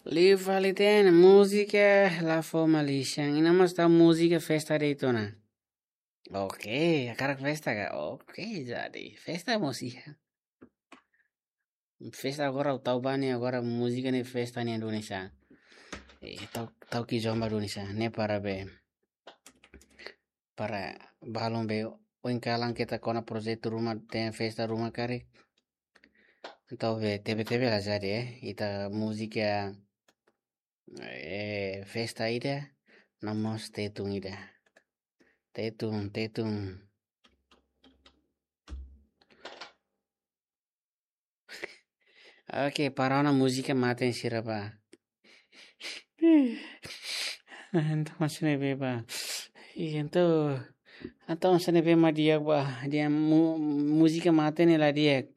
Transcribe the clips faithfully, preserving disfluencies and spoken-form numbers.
Liu fali ten, múzika la fó malisan. Iha ne'e mós tau múzika festa de'it ona. Oke, hakarak festa ka? Oke, jadi festa mós iha. Festa agora tau ba ne'e, agora múzika ne'e festa ne'e duni sa. Eh, tau, tau kizomba duni sa. Ne'e para be. Para balun be oin kalan keta kona projetu ruma, ten festa ruma karik. Entaun be tebe-tebe la jadi, eh. Ita múzika, eh, festa ida, no mós Tetun ida. Tetun, Tetun. Oke, para ona múzika mate sira ba. Entaun hanesan ne'ebé ba. Ih, entaun, entaun hanesan ne'ebé mak di'ak ba. Dia mu-, múzika mate ne'e la di'ak.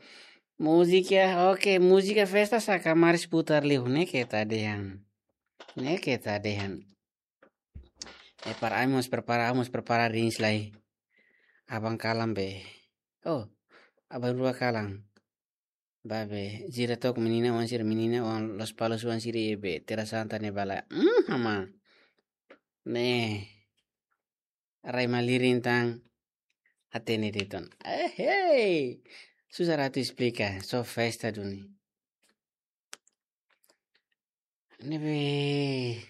Múzika, oke, múzika festa sá kamaris putar liu, ne'e keta dehan. Ne'e keta dehan. Eh, para ai mós prepara, ai mós prepara rins lai. Aban kalan be. Oh, aban rua kalan. Ba be, sira took menina oan sira, menina oan Lospalos oan sira iha be, Terra Santa ne'e bala. Hmm, hama. Ne'e. Rai malirin tan. Hatene de'it ona. Eh, hei. Susar atu esplika, só festa duni. Ne'ebé.